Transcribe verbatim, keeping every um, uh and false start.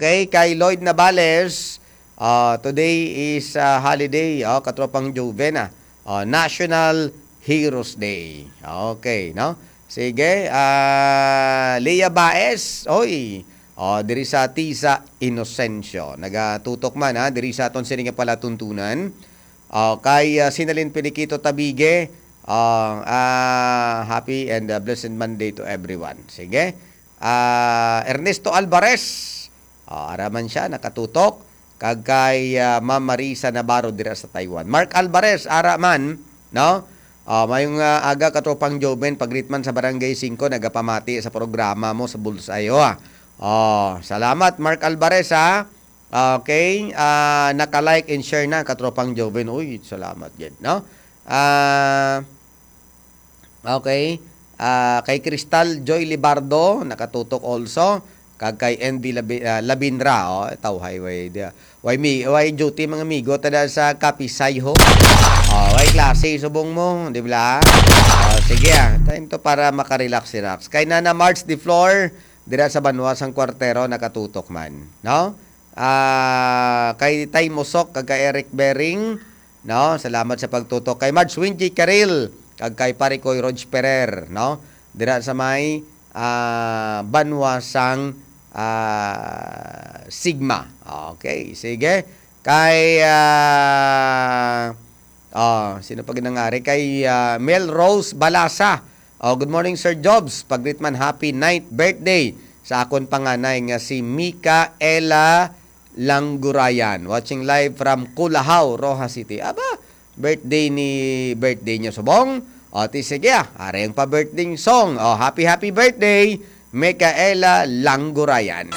Okay, kay Lloyd Navales, ah, today is, ah, holiday, oh, katropang Joven, ah. Oh, National Heroes Day. Okay, no? Sige, ah, Lea Baez, oy. Oh, diri sa Tisa Inocencio. Nagatutok man, ha, diri sa aton sini nga palatuntunan. Oh, kay, ah, Sinalin Pilikito Tabige, ah, ah, happy and, ah, blessed Monday to everyone. Sige. Ah, Ernesto Alvarez, ah, ara man siya, nakatutok. Kag kay, ah, Ma'am Marisa Navarro dira sa Taiwan. Mark Alvarez, ara man, no? Ah, mayong, ah, aga, katropang Joven, pag-greet man sa Barangay Singko, nagapamati sa programa mo sa Bullseye, oh, ah. Oh, salamat, Mark Alvarez, ha. Okay, ah, naka-like and share na, katropang Joven. Uy, salamat gid, no? Ah, okay. Ah, kay Crystal Joy Libardo, nakatutok also. Kag kay N B Labi-, ah, Labinra, oh, tawhay, way, di, way, mi, way duty, mga amigo, tada sa Kapisay, ho. Oh, way klase, subong mo, di ba? Oh, sige, ah. Time to para makarelax-relax. Kay Nana March de Flor, dira sa Banwa sang Kwartero, nakatutok man, no? Ah, kay Tay Mosok, kag kay Eric Bering, no? Salamat sa pagtutok. Kay Marge Wingy Caril, kag kay Pare Koy Rog Ferrer, no? Dira sa may, ah, Banwa sang, ah, Sigma. Okay, sige. Kay, ah, oh, sino pa ginangari? Kay, ah, Mel Rose Balasa. Oh, good morning, Sir Jobs. Pag-greet man, happy ninth birthday sa akon panganay nga si Mikaela Langgurayan. Watching live from Culahaw, Roxas City. Aba, birthday ni, birthday niya subong. O, ti sige, ah, ari ang pa-birthday song. O, happy, happy birthday, Mikaela Langgurayan.